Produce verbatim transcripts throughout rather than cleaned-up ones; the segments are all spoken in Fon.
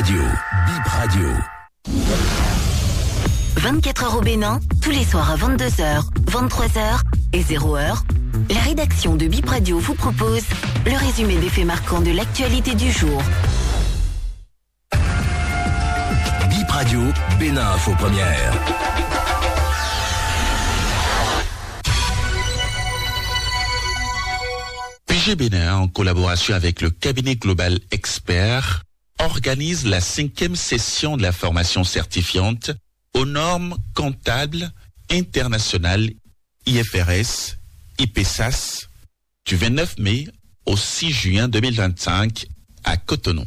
Radio, Bip Radio. Vingt-quatre heures au Bénin, tous les soirs à vingt-deux heures, vingt-trois heures et zéro heure, la rédaction de Bip Radio vous propose le résumé des faits marquants de l'actualité du jour. Bip Radio, Bénin Info Première. P G Bénin, en collaboration avec le cabinet Global Expert, organise la cinquième session de la formation certifiante aux normes comptables internationales, I F R S, I P S A S, du vingt-neuf mai au six juin deux mille vingt-cinq à Cotonou.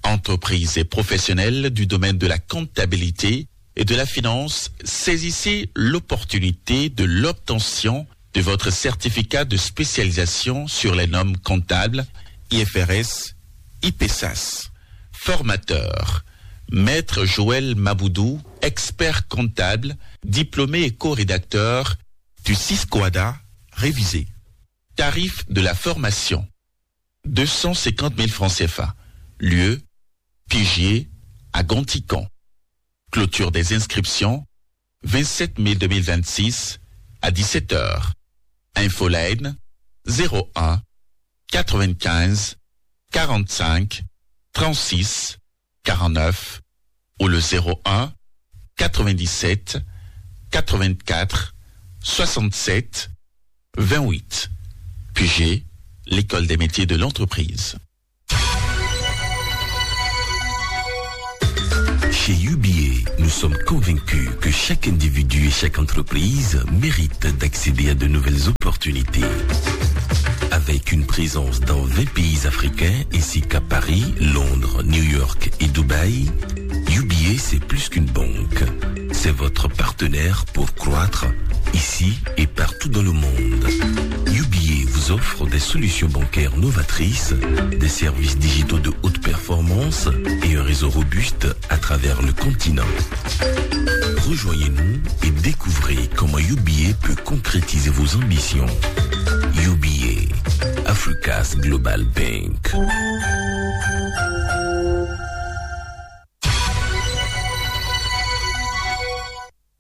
Entreprises et professionnels du domaine de la comptabilité et de la finance, saisissez l'opportunité de l'obtention de votre certificat de spécialisation sur les normes comptables, I F R S, I P S A S. Formateur, Maître Joël Maboudou, expert comptable, diplômé et co-rédacteur du Ciscoada révisé. Tarif de la formation, deux cent cinquante mille francs C F A. Lieu, Pigier, à Gontican. Clôture des inscriptions, vingt-sept mai deux mille vingt-six, à dix-sept heures. Infoline, zéro un, quatre-vingt-quinze, quarante-cinq, trente-six, quarante-neuf, ou le zéro un, quatre-vingt-dix-sept, quatre-vingt-quatre, soixante-sept, vingt-huit. P G, l'École des métiers de l'entreprise. Chez U B A, nous sommes convaincus que chaque individu et chaque entreprise mérite d'accéder à de nouvelles opportunités. Avec une présence dans vingt pays africains ainsi qu'à Paris, Londres, New York et Dubaï, U B A, c'est plus qu'une banque. C'est votre partenaire pour croître ici et partout dans le monde. U B A vous offre des solutions bancaires novatrices, des services digitaux de haute performance et un réseau robuste à travers le continent. Rejoignez-nous et découvrez comment U B A peut concrétiser vos ambitions. U B A, Africa's Global Bank.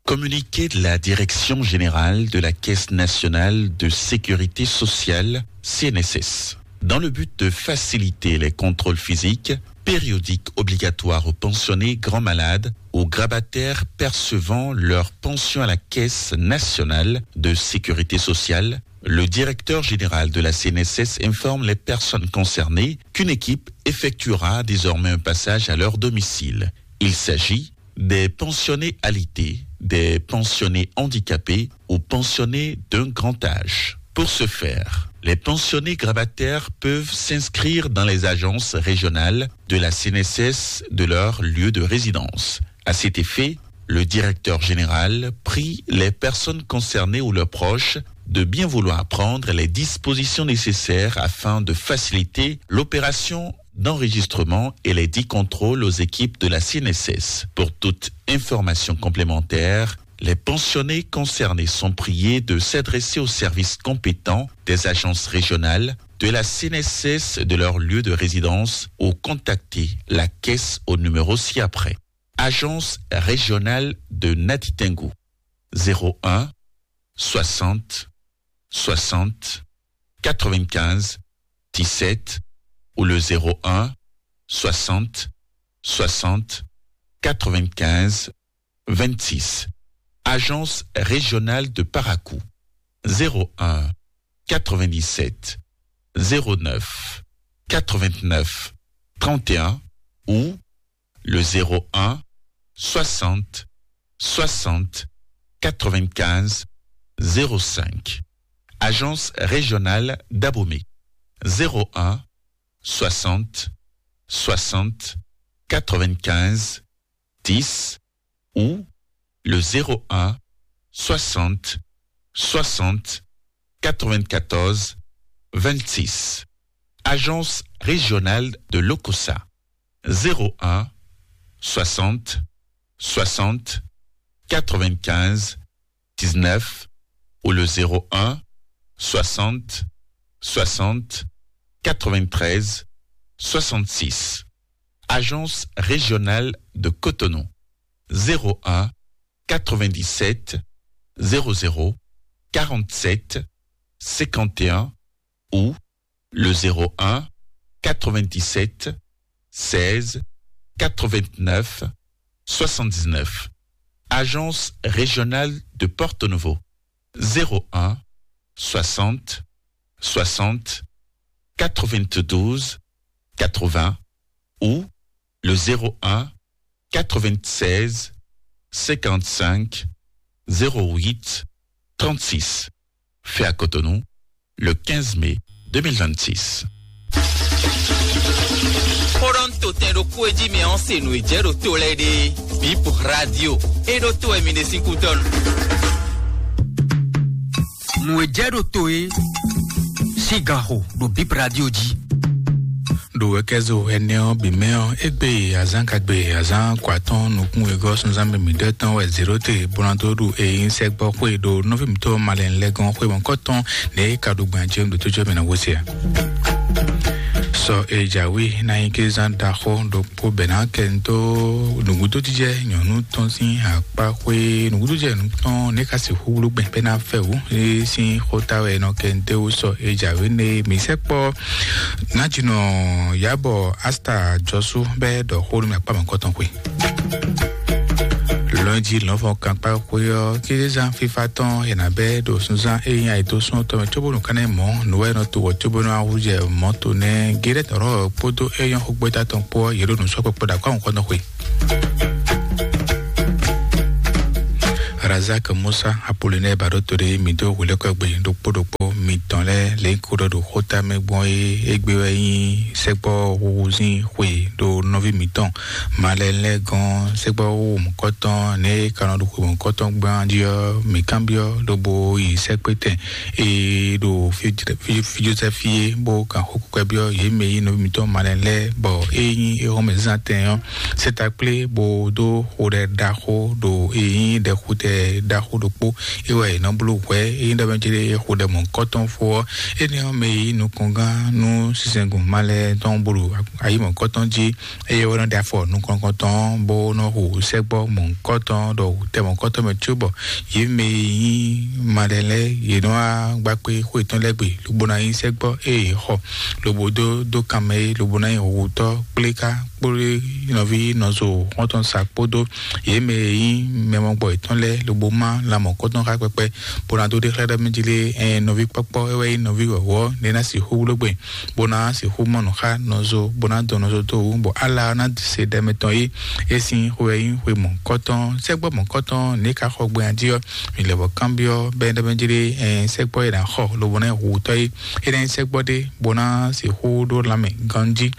Communiqué de la Direction générale de la Caisse nationale de sécurité sociale, C N S S. Dans le but de faciliter les contrôles physiques, périodiques, obligatoires aux pensionnés grands malades, aux grabataires percevant leur pension à la Caisse nationale de sécurité sociale, le directeur général de la C N S S informe les personnes concernées qu'une équipe effectuera désormais un passage à leur domicile. Il s'agit des pensionnés alités, des pensionnés handicapés ou pensionnés d'un grand âge. Pour ce faire, les pensionnés grabataires peuvent s'inscrire dans les agences régionales de la C N S S de leur lieu de résidence. À cet effet, le directeur général prie les personnes concernées ou leurs proches de bien vouloir prendre les dispositions nécessaires afin de faciliter l'opération d'enregistrement et les dix contrôles aux équipes de la C N S S. Pour toute information complémentaire, les pensionnés concernés sont priés de s'adresser aux services compétents des agences régionales de la C N S S de leur lieu de résidence ou contacter la caisse au numéro ci-après. Agence régionale de Natitingou, zéro un, soixante, soixante, quatre-vingt-quinze, dix-sept, ou le zéro un, soixante, soixante, quatre-vingt-quinze, vingt-six. Agence régionale de Parakou, zéro un, quatre-vingt-dix-sept, zéro neuf, quatre-vingt-neuf, trente et un, ou le zéro un, soixante, soixante, quatre-vingt-quinze, zéro cinq. Agence régionale d'Abomey, zéro un, soixante, soixante, quatre-vingt-quinze, dix, ou le zéro un, soixante, soixante, quatre-vingt-quatorze, vingt-six. Agence régionale de l'OCOSA, zéro un, soixante, soixante, quatre-vingt-quinze, dix-neuf, ou le zéro un, soixante, soixante, quatre-vingt-treize, soixante-six. Agence régionale de Cotonou, zéro un quatre-vingt-dix-sept zéro zéro quarante-sept cinquante et un ou le zéro un quatre-vingt-dix-sept seize quatre-vingt-neuf soixante-dix-neuf. Agence régionale de Porto Novo, zéro un soixante soixante quatre-vingt-douze quatre-vingts ou le zéro un quatre-vingt-seize cinquante-cinq zéro huit trente-six. Fait à Cotonou le quinze mai deux mille vingt-six. Xó ɖɔ un to tɛn ɖokpó e jí mɛ ɔ́ se nǔ e jɛ ɖo to lɛ́ɛ ɖe. Bip Radio. E ɖo to wɛ mi ɖe sín kútɔ́nu. Nǔ e jɛ ɖo to e sín ganxo ɖo Bip Radio jí. Ɖo wɛkɛzo ɛnɛ ɔ́ bǐ mɛ ɔ́, égbé azán kagbe azán kɔ atɔ́ɔ́n nukún wegɔ́ sunzán mɛ mǐɖɛtɔn wɛ zěɖóte bó ná dó ɖu eyín sɛgbɔ xwé ɖo nɔví mǐtɔn malɛn lɛ́ gɔ́n xwé mɔ̌kɔtɔn nɛ̌ é ka ɖo gbɛn jɛ́n ɖo tó jɔ mɛ ná gosí a? Sɔ e jǎwe ná nyí kézán ɖaxó ɖokpó bɛ̌ ná kɛ ń dó nǔgúdójijɛ nyɔ̌nu tɔn sín akpá xwé nǔgúdójijɛ tɔn nɛ̌ ka sixú wlú gbɛn bɛ́ ná fɛ wǔ é sín xóta wɛ nɔ kɛ ń dé wú sɔ e jǎwe nɛ mǐ sɛkpɔ́. Nájínɔ Yábɔ Asta Jɔsú bɛ́ ɖɔ xó nú mì akpá mɔ̌kɔtɔn xwe. Lɔnji lɔnfɔ kankpa xwe ɔ́, kízán fífá tɔn è nǎ bɛ́ ɖo sunzán e nyí ayǐtó sún ɔ́ tɔn mɛ cóbónú kánɛ mɔ̌ nǔ wɛ nɔ to wɔ cóbónú ahújɛ mɔ̌ to nɛ́ géɖɛ́ tɔn lɔ́ kpódó é nyɔ́ xógbɛ́ta tɔn kpó ɔ́, yě ɖo nǔ sɔ́ kpɔkpɔ ɖo akwáhùn kɔ́ tɔn xwe. Razak Musa Apolinɛ ba ɖó to ɖé mǐ dó hwelɛ́kɔ́gbe ɖokpó ɖokpó mitɔn lɛ́ɛ lě ko ɖɔ ɖo xóta mɛ gbɔn é égbé wɛ nyí sɛ́gbɔ́ huhuzín xwe ɖo nɔví mǐtɔn malɛ lɛ́ɛ gɔ́n sɛ́gbɔ́ hu mɔ̌kɔtɔn nɛ̌ é ka nɔ ɖo xwe mɔ̌kɔtɔn gbán jí ɔ́, mǐ kanbyɔ́ lobo yi sɛ́kpétɛn e ɖo fíjlɛ́ fíjlɛ́ fíjlɛ́ fí é bó kan xó kúkú byɔ́ yě mɛ e nyí nɔví mǐtɔn malɛ lɛ́ɛ bɔ é nyí éhɔ́mɛzán tɛn ɔ́, sɛ́ ta kplé bó dó xo ɖɛ ɖaxó ɖo e nyí ɖɛxutɛ ɖaxó ɖokpó é wɛ è nɔ bló hwɛ̌ é nyí ɖɔ mɛ céɖé xo ɖɛ mɔ̌kɔtɔn fó ɔ́. Énɛ́ ɔ́, mɛ e nyí nukɔngán nú sinsɛngun malɛ tɔn bó ɖo ayǐ mɔ̌kɔtɔn jí, eye é nɔ ɖe afɔ nukɔntɔn bó nɔ hu sɛ́gbɔ́ mɔ̌kɔtɔn ɖɔ tɛ mɔ̌kɔtɔn mɛ cóbɔ yě mɛ e nyí malɛ lɛ́ɛ yě nɔ wá gba kpé xó yětɔn lɛ́ɛ gbe lobo ná nyí sɛ́gbɔ́ eye yě xɔ lobo dó dó kan mɛ é lobo ná nyí hutɔ́ kplé ká kplé nɔví nɔzo xɔ́ntɔn sa kpódó yě mɛ e nyí mɛ mɔgbɔ yětɔn lɛ́ɛ lobo má lan mɔ̌kɔtɔn xá kpɛkpɛ bó ná dó ɖe xlɛ́ ɖɔ mɛ jí lé ɛn nɔví kpɔ́kpɔ́ é wɛ nyí nɔví wɔ̌wɔ́ nɛ́ ná sixú bló gbe bó ná sixú mɔ nǔ xá nɔzo bó ná dɔn nɔzo dó wú bɔ ala ɔ́ ná se ɖɛ mɛtɔn é é sín xwe wɛ nyí xwe mɔ̌kɔtɔn sɛ́gbɔ́ mɔ̌kɔtɔn nɛ̌ ka xɔ gbɛn jí ɔ́ mi lɛ bɔ kanbyɔ́ bɛ́ ɖɔ mɛ jí lé ɛn sɛ́gbɔ́ é ná xɔ lobo ná nyí hutɔ́ é é ná nyí sɛ́gbɔ́ ɖé bó ná sixú ɖó lanmɛ ganjí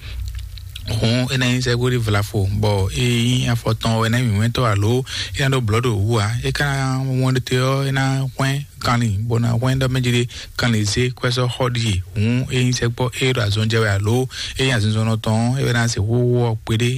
hǔn é ná nyí sɛ́gbó ɖi vlafo bɔ é nyí afɔ tɔn wɛ ná nyí mǐmɛ́tɔ́ alo é ná ɖó blɔ̌ ɖo wǔ ǎ. É ka ná wɔn ɖe te ɔ́ é ná hwɛ́n kanlin bó ná hwɛ́n ɖɔ mɛ jí ɖe kanlin zé kwɛ́sɔ́ xɔ ɖíe hǔn é nyí sɛ́gbɔ́ é ɖo azɔn jɛ wɛ alo é nyí azinzɔnnɔ tɔn ɔ́ é wɛ ná sixú wɔ kpeɖé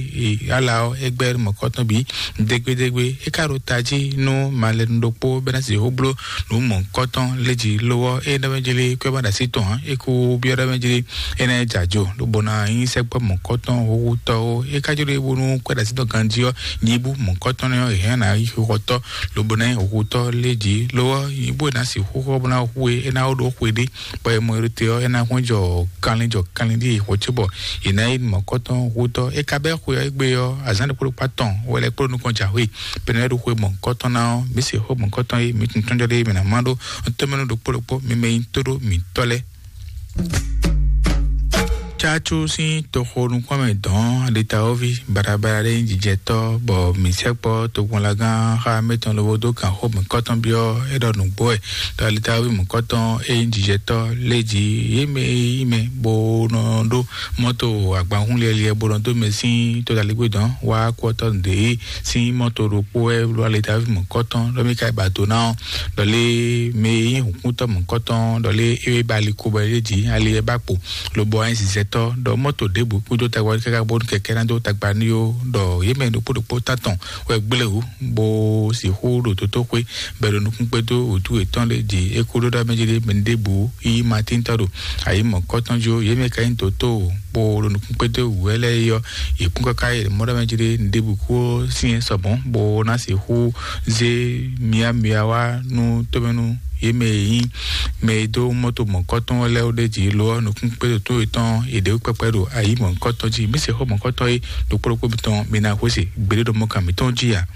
ala ɔ́ é gbɛ́ mɔ̌kɔtɔn bǐ dégbédégbé. É ka ɖo tají nú malɛnu ɖokpó bɛ́ ná sixú bló nǔ mɔ̌kɔtɔn léjì lówɔ é ɖɔ mɛ jí lé kwɛ́ ma ɖo así tɔn ǎ é kú byɔ́ ɖɔ mɛ jí lé é ná jɛ ajo lobo ná nyí sɛ́gbɔ́ mɔ̌kɔtɔn húhútɔ́ ó. É ka jló e bónú kwɛ́ɖasí tɔn ganjí ɔ́ nyibú mɔ̌kɔtɔn nɛ́ ɔ́, è hɛn ná yí xixɔtɔ́ lobo ná nyí húhútɔ́ lé jí ló ɔ́ nyibú è nǎ sixú xɔ bó ná hu e é ná wó ɖó xwe ɖé bɔ è mɔ é ɖo te ɔ́ é ná hɔn jɔ kanlin jɔ kanlin ɖíe xɔ cóbɔ è nǎ yí mɔ̌kɔtɔn hútɔ́. É ka bɛ́ xwe ɔ́ égbé ɔ́ azǎn ɖokpó ɖokpó atɔn wɛ lɛ́ kpló nukɔn jǎwe bɛnɛ ɖo xwe mɔ̌kɔtɔn ná ɔ́ mǐ se xó mɔ̌kɔtɔn e mǐ tun tɔ́njɔ ɖé mǐ ná má ɖó ɔ́ tɔ́mɛnú ɖokpó ɖokpó mi mɛ nyí tó ɖó mǐtɔ́ lɛ́ɛ. Tsatsu sín toxo nukúnmɛ dɔn ɖetawɔ́ví baɖabaɖa ɖé nyí jijɛtɔ́ bɔ mǐ sɛkpɔ́ tokpɔnlagán xá mɛtɔn lobo dó kan xó mǐkɔtɔn byɔ́ é ɖɔ nǔgbó wɛ ɖɔ ɖetawɔ́ví mǐkɔtɔn é nyí jijɛtɔ́ lé jí yě mɛ e nyí mɛ bó nɔ ɖó mɔ́to agbanhún liɛliɛ bó nɔ dó mɛ sín tódaligbé dɔn wá kú ɔ́ tɔ́ nǔɖé sín mɔ́to ɖokpó wɛ ɖo ɖetawɔ́ví mǐkɔtɔn ɖɔ mí ka yi ba do ná ɔ́ ɖɔ lé mɛ e nyí hǔnkúntɔ́ mǐkɔtɔn ɖɔ lé é ba ali ko bɔ é jí ali é ba kpo lobo wá nyí zizɛ tɔ ɖɔ mɔto ɖěbǔ kúdó tagba káká bónú kɛkɛ ná dó tagba ní ó, ɖɔ yě mɛ ɖokpó ɖokpó tán tɔn wɛ gblé wú bó sixú ɖo tótóxwé bɛ ɖo nukún kpédó wǔtú yětɔn lé jǐ. É kúdó ɖɔ mɛ jí ɖé mɛ ɖěbǔ yí matíntɔ ɖo ayǐ mɔ̌kɔtɔn jó. Yě mɛ ka nyí dǒtó bó ɖo nukún kpédó wǔ wɛ lɛ́ɛ yɔ yě kún káká yě mɔ ɖɔ mɛ jí ɖé ɖěbǔ kó sín sɔbɔn bó ná sixú zé miamia wá nú tómɛnú yě mɛ e nyí mɛ e dó mɔto mɔ̌kɔtɔn lɛ́ɛ ɖé jǐ lo ɔ́, nukún kpédó tó yětɔn yě ɖe kpɛkpɛ ɖo ayǐ mɔ̌kɔtɔn jí. Mí se xó mɔ̌kɔtɔn é ɖokpó ɖokpó mitɔn mi ná xwé se gbeɖé ɖo mɔkan mǐtɔn jí a.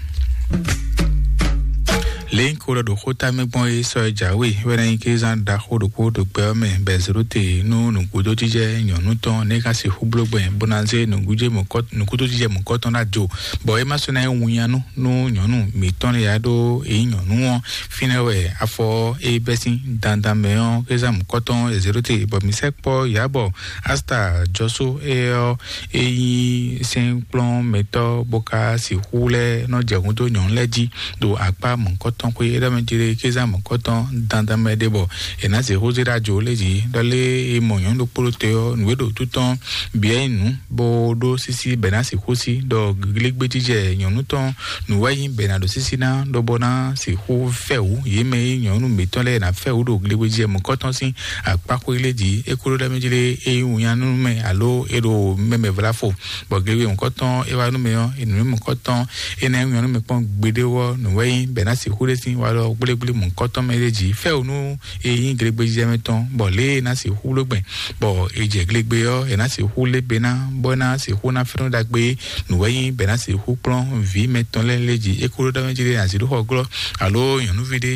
Lěnyí ko ɖɔ ɖo xóta mɛ gbɔn é sɔ é jǎwe wɛ ná nyí kézán ɖaxó ɖokpó ɖo gbɛ ɔ́ mɛ bɛ zéro te nú nǔgbódójijɛ nyɔ̌nu tɔn nɛ́ ká sixú bló gbɛn bó ná zé nǔgbódójijɛ mɔ̌kɔtɔn ná jo, bɔ é má sɔ́ ná nyí winnyánú nú nyɔ̌nu mǐtɔn lɛ́ɛ ya ɖó é nyí nyɔ̌nu ɔ́. Fínɛ́ wɛ afɔ é bɛ́ sín dandan mɛ ɔ́, kézán mɔ̌kɔtɔn é zéro te bɔ mǐ sɛ́ kpɔ́ yǎ bɔ Asta jɔsó é ɔ́, é nyí sɛ́nkplɔ́nmɛtɔ́ bó ka sixú lɛ́ nɔ jɛ hǔn dó nyɔ̌nu lɛ́ɛ jí ɖo akpá mɔ̌kɔtɔn xwé é ɖɔ mɛ jí ɖé kézán mɔ̌kɔtɔn dandan mɛ ɖé bɔ è nǎ zě xózé ɖo ajo lé jí ɖɔ lé é mɔ nyɔ̌nu ɖokpó ɖó te ɔ́, nǔ e ɖo tú tɔn bǐ é nyí nǔ bó ɖó sísí bɛ ná sixú sí ɖɔ glégbéjijɛ nyɔ̌nu tɔn nǔ wɛ nyí bɛ ná ɖo sísí ná ɖɔ bɔ ná sixú fɛ wǔ yě mɛ e nyɔ̌nu mǐtɔn lɛ́ɛ ná fɛ wǔ ɖo glégbéjijɛ mɔ̌kɔtɔn sín akpáxwé lé jí. É kúɖó ɖɔ mɛ jí lé é nyí wunyanú mɛ alo é ɖo mɛmɛ vlá fo bɔ glewe mɔ̌kɔtɔn é wá nú mɛ ɔ́, nǔ mɔ̌kɔtɔn é ná nyɔ́ nú mɛ kpɔ́n gbeɖé ɔ́, nǔ wɛ nyí bɛ ná sixú ɖé sín walɔ gblégblé mɔ̌kɔtɔn mɛ ɖé jí fɛ́wǔ nú é nyí glegbéjijɛ mɛ tɔn, bɔ lě e é ná sixú ɖó gbɛn, bɔ è jɛ glegbe ɔ́, è ná sixú lé be ná, bɔ é ná sixú ná fɛ́nú ɖagbe, nǔ wɛ nyí bɛ ná sixú kplɔ́n vǐ mɛtɔn lɛ́ɛ lé jí. É kó ɖó ɖɔ mɛ jí ɖé azǐ ɖó xɔ glɔ́, alo nyɔ̌nuví ɖé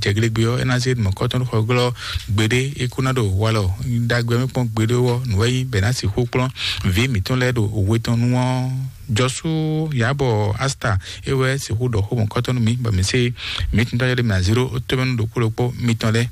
jɛ glegbe ɔ́, é ná zé mɔ̌kɔtɔn ɖó xɔ glɔ́ gbeɖé, é kó ná ɖo walɔ ɖagbe mɛ kpɔ́n gbeɖé ɔ́, nǔ wɛ nyí bɛ ná sixú kplɔ́n vǐ mǐtɔn lɛ́ɛ ɖo we tɔn nu ɔ́. Jɔsú yabɔ asta é wɛ sixú ɖɔ xó mɔ̌kɔtɔn nú mì, bɔ mǐ se mǐ tún tɔ́ yɛɖe mǐ azíɖó tómɛnú ɖokpó ɖokpó mitɔn lɛ́ɛ.